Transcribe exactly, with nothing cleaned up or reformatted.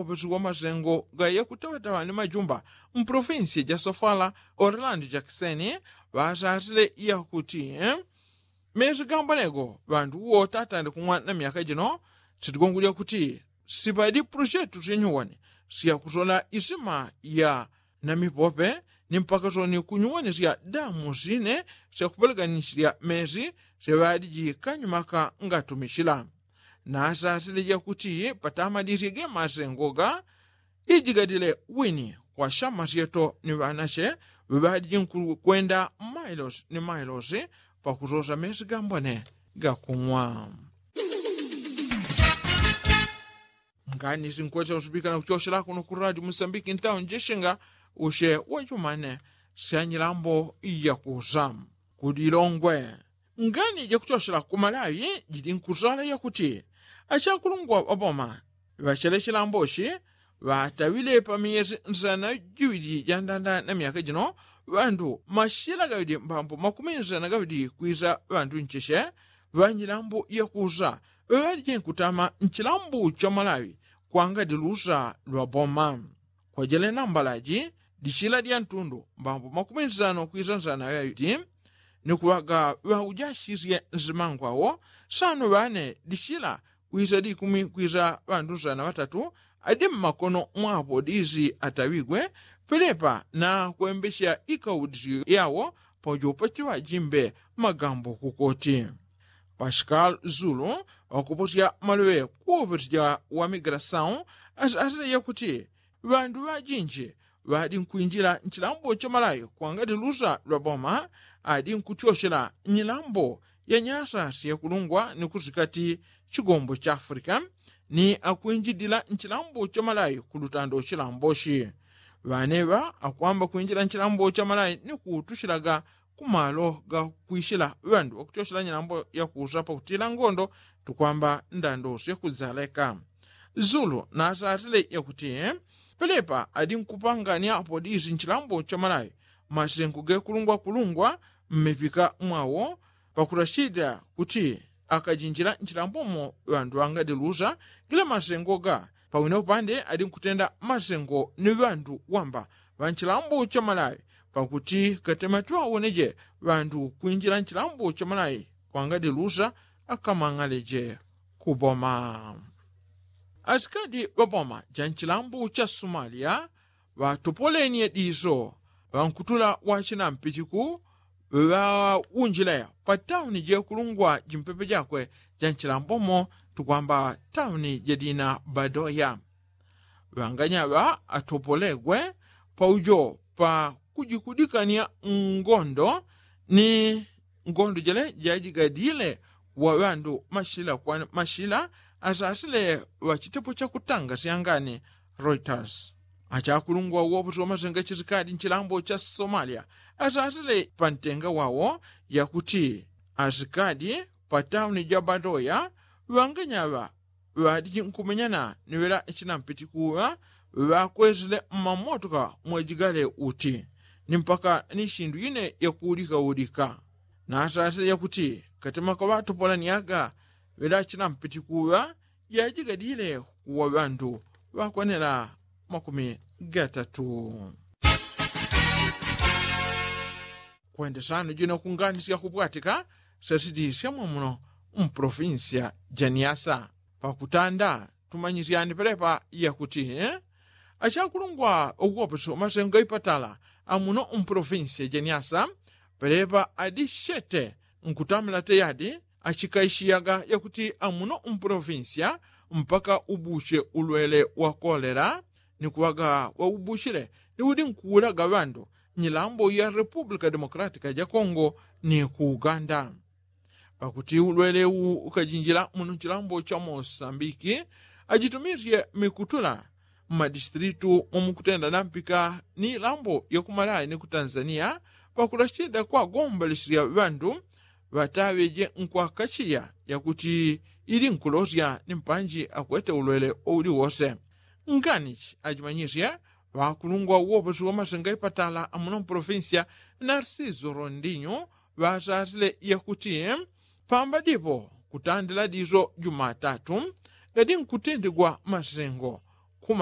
Wapasiwa masengo ga yakutawatawa ni majumba mpolofinsiya ja sofala orlando jakiseni ŵasasile yakuti mesi gamboneko ŵandu wotatande kumwa na myaka jino. Sitigongolya kuti sipadi puloshetu syenyuwani syakusola isima ya na mipope ni mpaka soni kunyuwanisya damu sine syakupelekanishilya mesi syaŵadiji kanyumaka ngatumisila. Nasasile jakuti patamadisye ge masengo ga ijigadile wini kwa shamasyeto ni ŵanache ŵaŵadiji nkukwenda mailosi ni mailosi pakusosa mesi gambone gakung'wa. Ngani sinkwesa usupika na kuchoshela kuno ku radio musambiki ntawo njeshenga ushe wachumane syanyilambo yakusa kudilongwe. Ngani jakuchoshela kumalawi jidi nkusala yakuti achakulungwa ŵaboma ŵachele chilamboshi ŵatawile pamiyesi nsana jiwidi jandanda na myaka jino ŵandu mashila gawidi mbambo makumi nsana gawidi kwisa ŵandu ncheshe ŵanyilambo yakusa ŵaŵalije nkutama nchilambo cha malawi kwangadi lusa lwa boma. Kwajele nambalaji dishila dya ntundu mbambo makumi nsano kwisa nsana ŵaŵidi ni kuŵaga ŵaujashisye nsimangwawo sano ŵane dishila kwisa dikumi kwisa ŵandu nsana ŵatatu adi mmakono mwapo disi ataŵigwe pelepa na kwembesya ikaudisyo yawo paujo pachiŵajimbe magambo kukoti. Pasikali zulu wakuposya maloŵe kuwoposya wa migrasau asile yakuti ŵandu ŵajinji ŵadi nkwinjila nchilambo cha malawi kwangadi lusa lwa boma adi nkutyoshela nyilambo ya nyasa syakulungwa ni kusikati chigombo cha afrika ni akwinjilila nchilambo cha malawi kulutando chilamboshi. Ŵaneŵa akwamba kwinjila nchilambo cha malawi ni kutushilaga kumalo ga kwishila ŵandu ŵakutyoshela nyilambo yakusa pakutila ngondo tukwamba ndando syakudzaleka. Zulu nasasile yakuti pelepa adi nkupangania apo disi nchilambo cha malawi masengo gekulungwakulungwa mmipika mwawo pakurashida kuti akajinjila nchilambomo ŵandu ŵangadilusa gila masengo ga pawina upande adi nkutenda masengo ni ŵandu wamba ŵanchilambo cha malawi pakuti katematiwa woneje ŵandu kwinjila nchilambo cha malawi kwangadilusa akamang'aleje kuboma. Asikadi ŵaboma ja nchilambo cha somalia ŵatopolenie diso ŵankutula wachinampitiku ŵaunjile patauni jekulungwa jimpepe jakwe ja nchilambomo tukwamba tauni jadina badoya. Ŵanganyaŵa atopolegwe paujo pakujikudikania ngondo ni ngondo jele jajigadile wa ŵandu mashila kwa mashila asasile ŵachitepo chakutanga syangani reuters. Achakulungwa woposi wamasenga chisikadi nchilambo cha somalia asasile pantenga wawo yakuti asikadi patauni ja badoya ŵanganyaŵa ŵadiji nkumenyana ni ŵela chinampitikuŵa ŵakwesile mmamotoka mwajigale uti ni mpaka ni shindu ine yakuudikaudika. Nasasile yakuti katemaka ŵatopolaniaga ŵela chinampitikuŵa jajigadile kuwa ŵandu ŵakwanela makumi gatatu. Kwendesano jino kunganisya kupwatika sasiti syamwamuno mpolofinsiya ja niasa. Pakutanda tumanyisyani pelepa yakuti achakulungwa uwoposi wamasengo gaipatala amuno mpolofinsiya ja niasa pelepa adi shete nkutamila teyadi achikaishiyaga yakuti amuno mpolofinsiya mpaka ubuche ulwele wa kolela ni kuŵaga waubuchile ni udi nkuulaga ŵandu nyilambo ya repupulika demokulatika ja kongo ni ku uganda. Pakuti ulwele uwu ukajinjila muno nchilambo cha mosambiki ajitumisye mikutula mmadistilitu mwamukutenda nampika ni ilambo yakumalayi ni ku tanzania pakulachida kwagombolesya ŵandu ŵataŵeje nkwakachiya yakuti ili nkulosya ni mpanji akwete ulwele wauli wose. Nganichi ajimanyisye ŵakulungwa uwoposi wamasenga ipatala amuno mpolofinsiya narsiso rondinyo ŵasasile yakuti pamba dipo kutandila diso jumatatu gadi nkutendigwa masengo kuma